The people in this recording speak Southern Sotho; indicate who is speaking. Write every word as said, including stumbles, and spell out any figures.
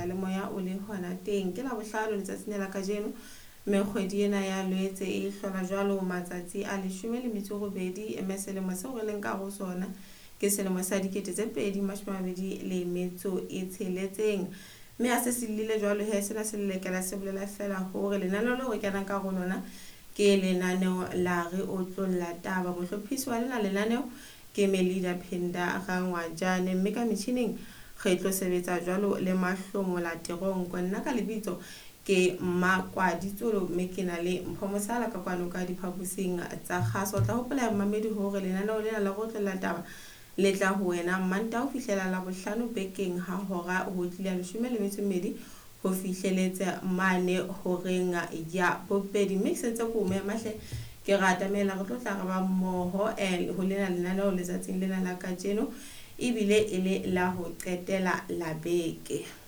Speaker 1: seyalemoya o le hona teng. Ke Labohlano letsatsing la kajeno, mme kgwedi ena ya Loetse e hlola jwalo matsatsi a leshome le metso e robedi, mme selemo seo re leng ka ho sona ke selemo sa dikete tse pedi mashome a mabedi le metso e tsheletseng. Mme ha se se llile jwalo he, sena se lelekela se bolela fela hore lenaneo leo re kenang ka ho lona ke lenaneo la Re Otlolla Taba. Mohlophisi wa lena lenaneo ke Melida Phinda Rangwajane, mme ka metjhining re tlo sebetsa jwalo le Mahlomola Teronko. Nna ka lebitso ke Mmakwaditsolo, mme ke na le Mpho Mosala ka kwano ka diphaposing tsa kgaso. O tla hopola mmamedi hore lenaneo lena la Re Otlolla Taba le tla ho wena Mantaha ho fihlela Labohlano bekeng ha hora ho tlile leshome le metso e mmedi ho fihleletse mane horeng ya bobedi. Mme ke sentse ko mema hle, ke re atamela re tlo tla re ba mmoho ho lena lenaneo letsatsing lena la kajeno, ebile e le la ho qetela la beke.